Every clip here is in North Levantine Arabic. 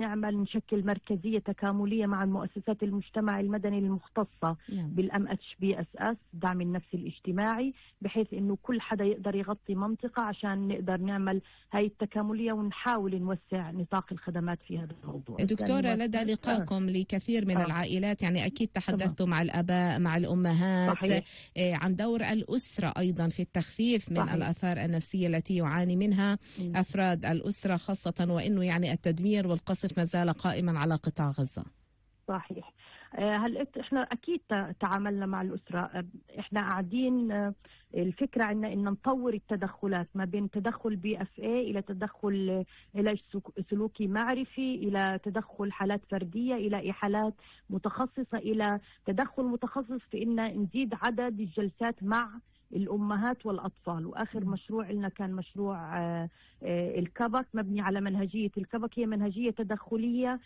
نعمل نشكل مركزية تكاملية مع المؤسسات المجتمع المدني المختصة بالMHBSS الدعم النفسي الاجتماعي، بحيث انه كل حدا يقدر يغطي منطقة عشان نقدر نعمل هاي التكاملية ونحاول نوسع نطاق الخدمات في هذا الموضوع. دكتورة، لدى لقائكم لكثير من العائلات يعني أكيد تحدثتوا مع الآباء مع الأمهات عن دور الأسرة أيضا في التخفيف من الآثار النفسية التي يعاني منها أفراد الأسرة، خاصة وإنه يعني التدمير والقصف ما زال قائما على قطاع غزة. صحيح. هل احنا اكيد تعاملنا مع الاسره، احنا قاعدين الفكره عندنا ان نطور التدخلات ما بين تدخل BFA الى تدخل علاج سلوكي معرفي، الى تدخل حالات فرديه، الى حالات متخصصه، الى تدخل متخصص في ان نزيد عدد الجلسات مع الأمهات والأطفال. وآخر مشروع لنا كان مشروع الكبك، مبني على منهجية الكبك، هي منهجية تدخلية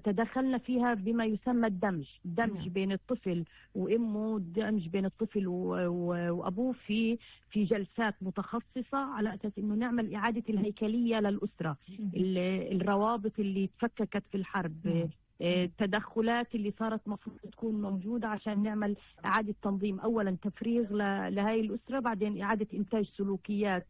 تدخلنا فيها بما يسمى الدمج بين الطفل وامه، الدمج بين الطفل وابوه في جلسات متخصصه، على اساس انه نعمل اعاده الهيكليه للاسره، الروابط اللي تفككت في الحرب، التدخلات اللي صارت مفروض تكون موجودة عشان نعمل إعادة تنظيم، أولا تفريغ لهاي الأسرة، بعدين إعادة إنتاج سلوكيات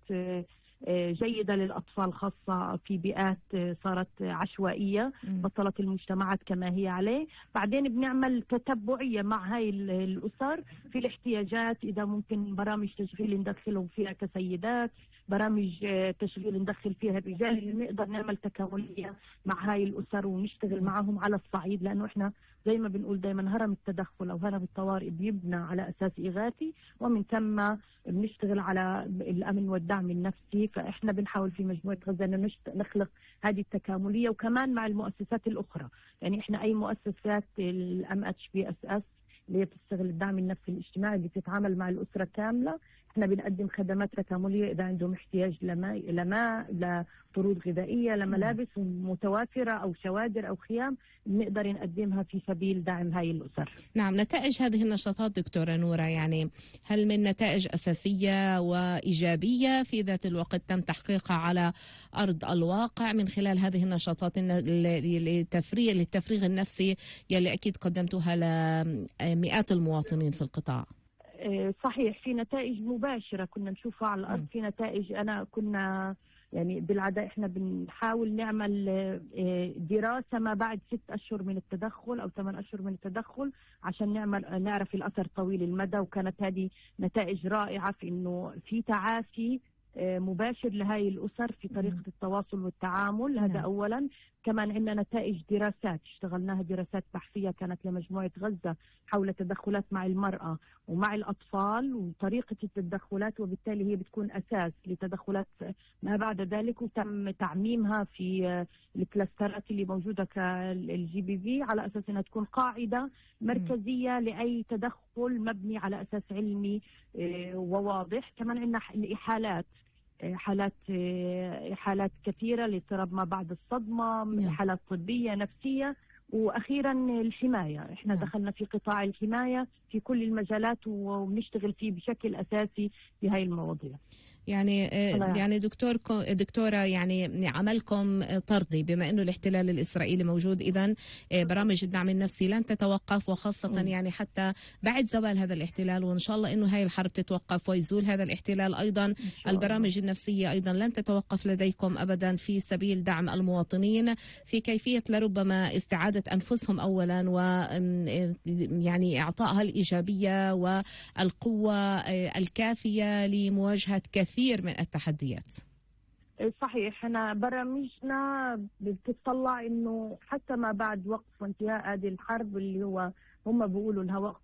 جيدة للأطفال، خاصة في بيئات صارت عشوائية بطلت المجتمعات كما هي عليه. بعدين بنعمل تتبعية مع هاي الأسر في الاحتياجات، إذا ممكن برامج تشغيل ندخلهم فيها كسيدات، برامج تشغيل ندخل فيها الرجال، اللي نقدر نعمل تكاملية مع هاي الأسر ونشتغل معهم على الصعيد، لأنه إحنا زي ما بنقول دايما هرم التدخل أو هرم الطوارئ بيبنى على أساس إغاثي، ومن ثم بنشتغل على الأمن والدعم النفسي. فإحنا بنحاول في مجموعة غزة أن نخلق هذه التكاملية، وكمان مع المؤسسات الأخرى. يعني إحنا أي مؤسسات الMHBSS اللي هي بتشتغل الدعم النفسي الاجتماعي اللي بتتعامل مع الأسرة كاملة، احنا بنقدم خدمات تكاملية إذا عندهم احتياج لماء، لطرود غذائية، لملابس متوافرة أو شوادر أو خيام، بنقدر نقدمها في سبيل دعم هاي الأسر. نعم. نتائج هذه النشاطات دكتورة نورة، يعني هل من نتائج أساسية وإيجابية في ذات الوقت تم تحقيقها على أرض الواقع من خلال هذه النشاطات للتفريغ النفسي يلي أكيد قدمتوها لمئات المواطنين في القطاع؟ صحيح، في نتائج مباشرة كنا نشوفها على الأرض. في نتائج كنا يعني بالعادة احنا بنحاول نعمل دراسة ما بعد 6 أشهر من التدخل أو 8 أشهر من التدخل عشان نعرف الأثر طويل المدى، وكانت هذه نتائج رائعة في إنه في تعافي مباشر لهاي الأسر في طريقة التواصل والتعامل. هذا أولا. كمان عندنا نتائج دراسات اشتغلناها، دراسات بحثية كانت لمجموعة غزة حول تدخلات مع المرأة ومع الأطفال وطريقة التدخلات، وبالتالي هي بتكون أساس لتدخلات ما بعد ذلك، وتم تعميمها في الكلاسترات اللي موجودة كالGBV على أساس أنها تكون قاعدة مركزية لأي تدخل مبني على أساس علمي وواضح. كمان عندنا حالات كثيرة لاضطراب ما بعد الصدمة، حالات طبية نفسية، وأخيرا الحماية. احنا دخلنا في قطاع الحماية في كل المجالات وبنشتغل فيه بشكل أساسي في هاي المواضيع. يعني دكتورة يعني عملكم طردي بما انه الاحتلال الاسرائيلي موجود، اذا برامج الدعم النفسي لن تتوقف، وخاصة يعني حتى بعد زوال هذا الاحتلال، وان شاء الله انه هاي الحرب تتوقف ويزول هذا الاحتلال ايضا، البرامج النفسية ايضا لن تتوقف لديكم ابدا في سبيل دعم المواطنين في كيفية لربما استعادة انفسهم اولا، ويعني اعطائها الايجابية والقوة الكافية لمواجهة كثير من التحديات. صحيح، احنا برامجنا بتطلع انه حتى ما بعد وقف وانتهاء هذه الحرب اللي هو هم بيقولوا انها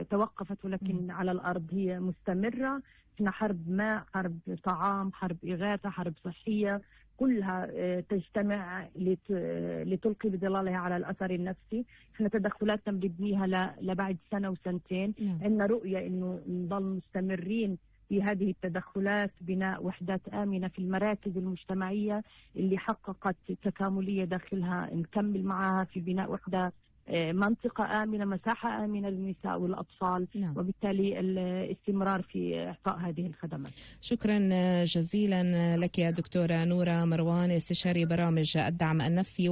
توقفت، ولكن على الارض هي مستمرة. احنا حرب ماء، حرب طعام، حرب إغاثة، حرب صحية، كلها تجتمع لتلقي بظلالها على الأثر النفسي. احنا تدخلاتنا بنبنيها لبعد سنة وسنتين. عندنا رؤية انه نضل مستمرين في هذه التدخلات، بناء وحدات آمنة في المراكز المجتمعية اللي حققت تكاملية داخلها، نكمل معها في بناء وحدة منطقة آمنة، مساحة آمنة للنساء والأطفال. نعم. وبالتالي الاستمرار في إعطاء هذه الخدمات. شكرا جزيلا لك يا دكتورة نورة مروان، استشاري برامج الدعم النفسي.